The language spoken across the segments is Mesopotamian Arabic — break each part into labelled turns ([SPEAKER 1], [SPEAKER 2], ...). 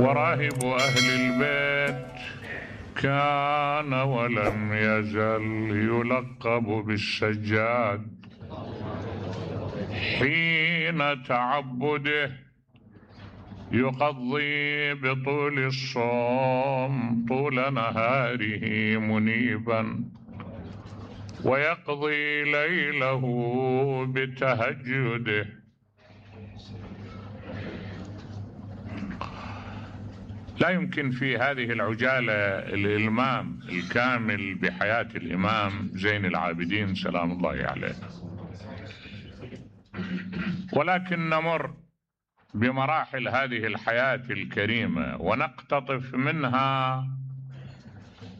[SPEAKER 1] وراهب أهل البيت كان ولم يزل يلقب بالسجاد حين تعبده يقضي بطول الصوم طول نهاره منيبا ويقضي ليله بتهجده. لا يمكن في هذه العجالة الإلمام الكامل بحياة الإمام زين العابدين سلام الله عليه، ولكن نمر بمراحل هذه الحياة الكريمة ونقتطف منها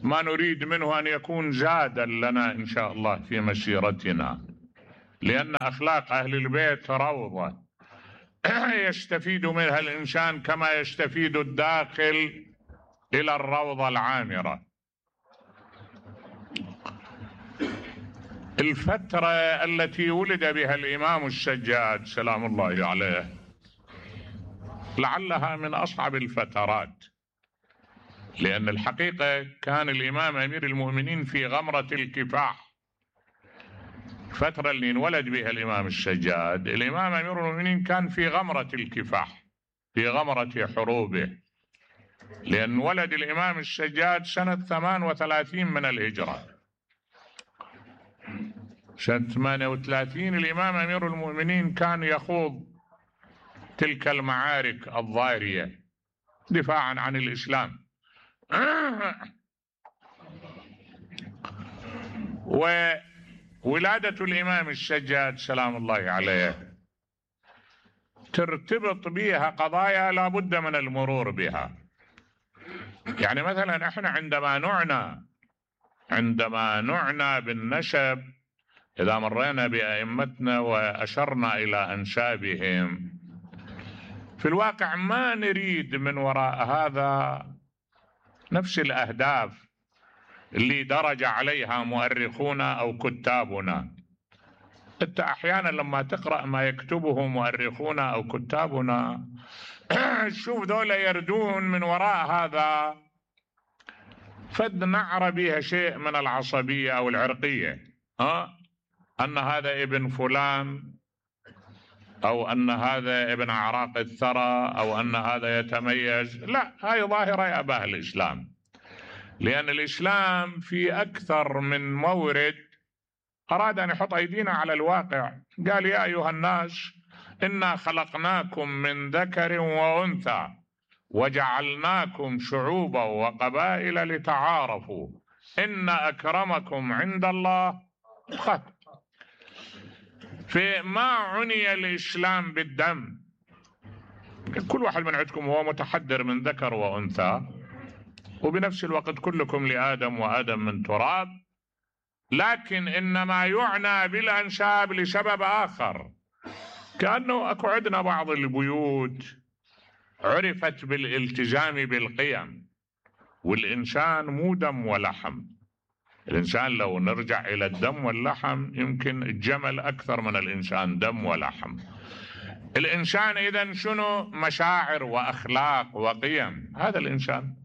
[SPEAKER 1] ما نريد منه أن يكون زادا لنا إن شاء الله في مسيرتنا، لأن أخلاق أهل البيت روضة يستفيد منها الإنسان كما يستفيد الداخل إلى الروضة العامرة. الفترة التي ولد بها الإمام السجاد سلام الله عليه لعلها من أصعب الفترات، لأن الحقيقة كان الإمام أمير المؤمنين في غمرة الكفاح. الفترة اللي انولد بها الإمام السجاد الإمام أمير المؤمنين كان في غمرة الكفاح، في غمرة حروبه، لأن ولد الإمام السجاد سنة 38 من الهجرة. سنة 38 الإمام أمير المؤمنين كان يخوض تلك المعارك الضارية دفاعا عن الإسلام. وولادة الإمام السجاد سلام الله عليه ترتبط بها قضايا لا بد من المرور بها. يعني مثلا احنا عندما نعنى بالنسب، إذا مرينا بأئمتنا وأشرنا إلى أنسابهم، في الواقع ما نريد من وراء هذا نفس الأهداف اللي درج عليها مؤرخونا أو كتابنا. أنت أحيانا لما تقرأ ما يكتبه مؤرخونا أو كتابنا شوف ذولا يردون من وراء هذا فد نعر بها شيء من العصبية أو العرقية، أن هذا ابن فلان، أو أن هذا ابن أعراق الثرى، أو أن هذا يتميز. لا، هاي ظاهرة يأباها الإسلام، لأن الإسلام في أكثر من مورد أراد أن يحط أيدينا على الواقع. قال يا أيها الناس إنا خلقناكم من ذكر وأنثى وجعلناكم شعوبا وقبائل لتعارفوا إن أكرمكم عند الله أتقاكم. فما عني الإسلام بالدم. كل واحد من عندكم هو متحدر من ذكر وأنثى، وبنفس الوقت كلكم لآدم وآدم من تراب، لكن إنما يعنى بالأنساب لسبب آخر. كأنه أكو عندنا بعض البيوت عرفت بالالتزام بالقيم، والإنسان مو دم ولحم. الإنسان لو نرجع إلى الدم واللحم يمكن الجمل أكثر من الإنسان دم ولحم. الإنسان إذن شنو؟ مشاعر وأخلاق وقيم. هذا الإنسان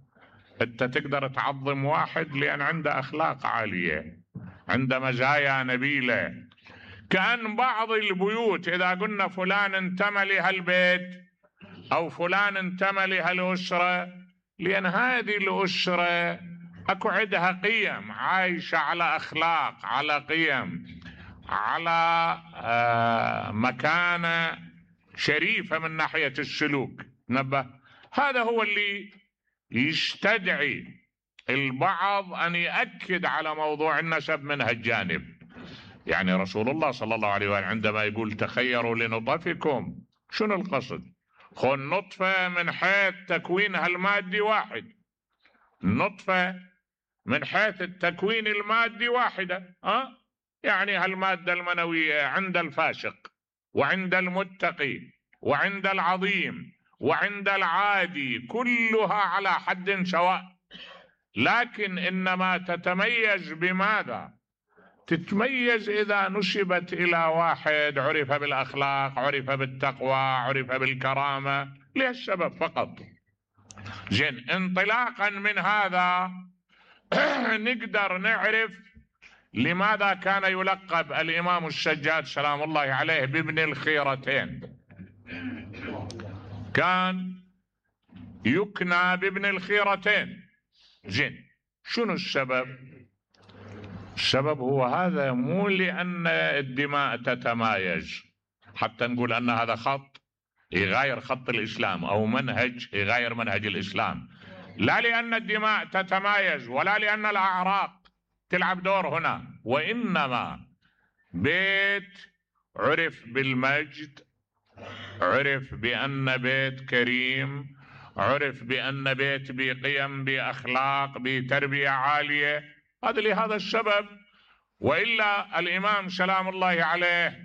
[SPEAKER 1] أنت تقدر تعظم واحد لأن عنده أخلاق عالية، عنده مزايا نبيلة. كأن بعض البيوت إذا قلنا فلان انتمى لهالبيت أو فلان انتمى لهالأسرة، لأن هذه الأسرة أكو عندها قيم، عايشة على أخلاق، على قيم، على مكانة شريفة من ناحية السلوك. نبه، هذا هو اللي يستدعي البعض أن يأكد على موضوع النسب من هالجانب. يعني رسول الله صلى الله عليه وآله عندما يقول تخيروا لنطفكم، شنو القصد؟ خن نطفة من حيث تكوينها المادي واحد، النطفة من حيث التكوين المادي واحدة، يعني هالمادة المنوية عند الفاسق وعند المتقي وعند العظيم وعند العادي كلها على حد سواء، لكن إنما تتميز بماذا؟ تتميز إذا نسبت إلى واحد عرف بالأخلاق، عرف بالتقوى، عرف بالكرامة، لهالسبب فقط. زين، انطلاقا من هذا نقدر نعرف لماذا كان يلقب الإمام الشجاع سلام الله عليه بابن الخيرتين. كان يكنى بابن الخيرتين. زين، شنو السبب؟ السبب هو هذا، مو لأن الدماء تتمايز حتى نقول أن هذا خط يغير خط الإسلام أو منهج يغير منهج الإسلام، لا لأن الدماء تتمايز ولا لأن الأعراق تلعب دور هنا، وإنما بيت عرف بالمجد، عرف بأن بيت كريم، عرف بأن بيت بقيم بأخلاق بتربية عالية. هذا لهذا السبب. وإلا الإمام سلام الله عليه